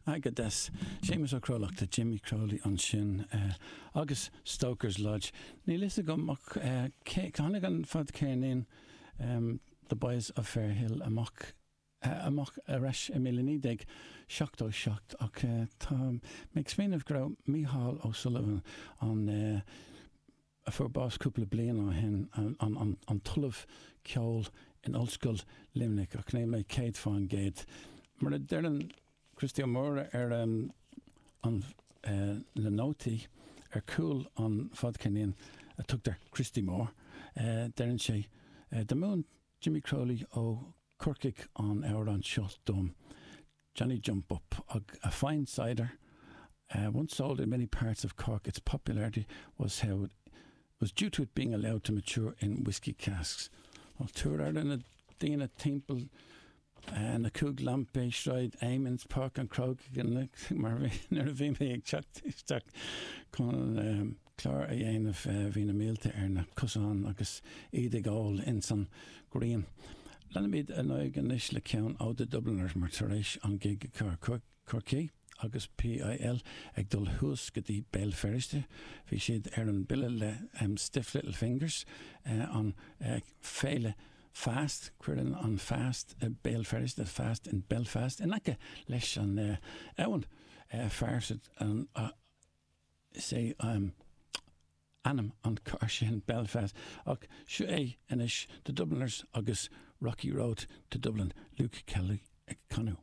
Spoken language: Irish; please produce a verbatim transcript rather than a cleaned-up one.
Go deas Séamus Ó Crólachta Jimmy Crowley ansin uh, agus Stoker's Lodge. Níl a fhios agam ach uh, tháinig an fadcheirnín um, The Boys of Fairhill amach uh, amach aris i míle naoi déag seachtó seacht ach uh, tá mé ag smaoineamh go raibh Mícheál O'Sullivan an uh, a fuair bás cúpla bliain ó shin an, an, an, an t-ollamh ceoil in Ollscoil Luimnigh ach níl mé céad faoin gcéad. Mar a deireann Christy Ó Mórdha ar um, an uh, na nótaí ar chúl an fadcheirnín a tugtar Christy Moore, uh, deireann sé uh, do mhúin Jimmy Crowley ó Corcaigh an amhrán seo dom. Johnny Jump Up, a, a fine cider, uh, once sold in many parts of Cork, its popularity was how it was due to it being allowed to mature in whiskey casks. Well, tuair ar na daoine timpeall uh, na cúig lampaí Sráid Amiens Páirc an Chrócaigh mar nuair a bhí mé ag teacht isteach chun um, clár a dhéanamh uh, bhí na mílte ar na cosáin agus iad ag ól in san ghrian. Leanaimid ar aghaidh anois le ceann ó The Dubliners mar tar éis an gig Corcaigh agus PIL ag dul thuas go dtí Béal Feirste, Bhí siad ar an bille le um, Stiff Little Fingers uh, an uh, féile Fast cuireann an Fast uh, Béal Feirste Fast in Belfast in aice leis an uh, abhainn uh, Feirste an uh, sé um, ainm an car sin Belfast ach seo é anois The Dubliners agus Rocky Road to Dublin Luke Kelly ag canadh.